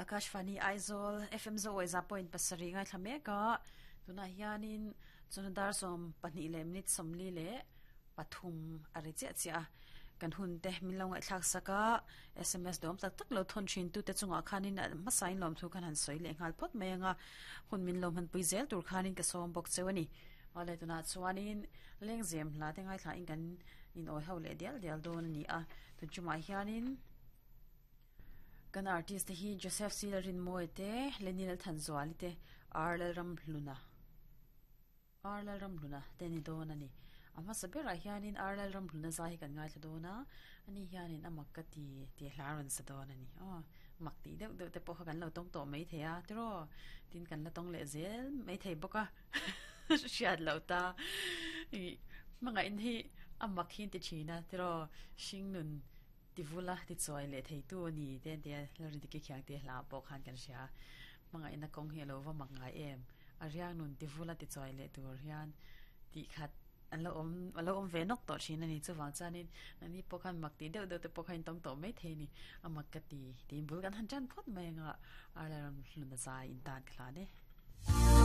Akashvani Aizawl FM Zoawi za point pasarih ngaithla mek a, tunah hianin chawhnu dar 12 leh minute 40 leh pathum a ri chiah chiah a, kan hun te min lo ngaihthlak sak a, sms dawm tak tak lo thawn thin tute chungah khanin a hmasain lawmthu khan han sawi leh nghal phawt mai ang a, hun min lo hmanpui zel tur khanin ka sawm bawk cheu a ni. Awle tunah chuanin lengzem hla te ngaithlain kan inawi ho leh dial dial dawn a ni a, tun chungah hianin. Kan artist te hi Joseph C Lalrinmawia te, Lenny Lalthanzuali te, R Lalramhluna R Lalramhluna te ni dawn a ni. A hmasa berah hianin R Lalramhluna zai hi kan ngaithla dawn a, ani hianin a mak ka ti tih hla a rawn sa dawn a ni. Aw, mak tih deuh deuh te pawh kha kan lo tawng tawh maithei a, tiraw? Tin kan la tawng leh zel maithei bawk a, hriat loh ta. Ih, hmangaihna hi a mak hi an ti thin a, tiraw? Hringnun. Ti vula ti chuai leh theitu a ni te tia Lalrindiki khiang te hla pawh khan kan hria. Hmangaihna kawng hi a lo va mak ngai em? A riang nun ti vula ti chuai leh tur hian tih khat an lo awm a lo awm ve nawk tawh thin a ni. Chuvang chuanin nangni pawh khan mak tih deuh deuh te pawh khan in tawng tawh mai thei a ni. A mak ka ti tiin bul kan han tan phawt mai anga Arla ram hlun a zai in tan ka hlan e.